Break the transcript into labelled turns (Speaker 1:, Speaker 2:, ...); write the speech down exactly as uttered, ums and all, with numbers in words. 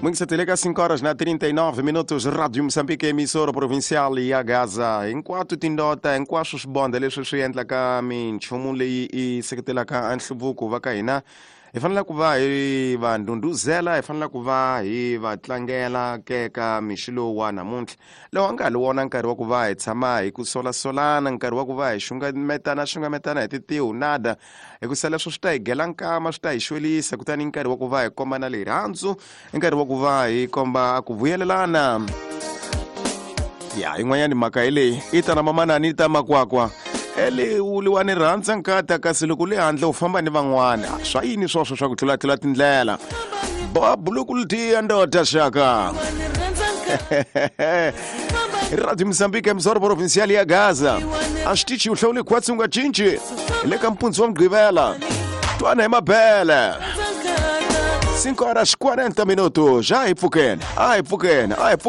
Speaker 1: Muito ka cinco horas na trinta e nove minutos, Rádio Moçambique, emissora provincial ya Gaza. Hinkwatu tindota, hinkwaswo swibonda leswi swi endlaka minchumu leyi i seketelaka nhluvuko va ka hina. Hi fanele ku va hi va ndhundhuzela, hi fanele ku va hi va tlangela keka mixo lowu wa namuntlha. Lowu a nga ha wona nkarhi wa ku va hi tshama hi ku solasolana, nkarhi wa ku va hi xungametana xungametana hi titihu nada, hikusa leswo swi ta hi gela nkama, swi ta hi xwelisa. Kutani nkarhi wa ku va hi komba na rirhandzu, nkarhi wa ku va hi komba ku vuyelelana. Ya yin'wanyani mhaka hi leyi i ta na mamanani i ta makwakwa ele uliwa ni rhandza nkata kasi loko le handle u famba ni van'wana swa yini swoswo swa ku tlulatlula tindlela bobulukulutiya ndoda xaka. Radio Moçambique, emissora provincial ya Gaza. A xitichi u hlawule khwatsi u nga cinci le ka mpundzu wa Mugqivela. Twana hi mabele. cinco horas quarenta minutos. Já hi pfukeni, a hi pfukeni, a hi pfukeni.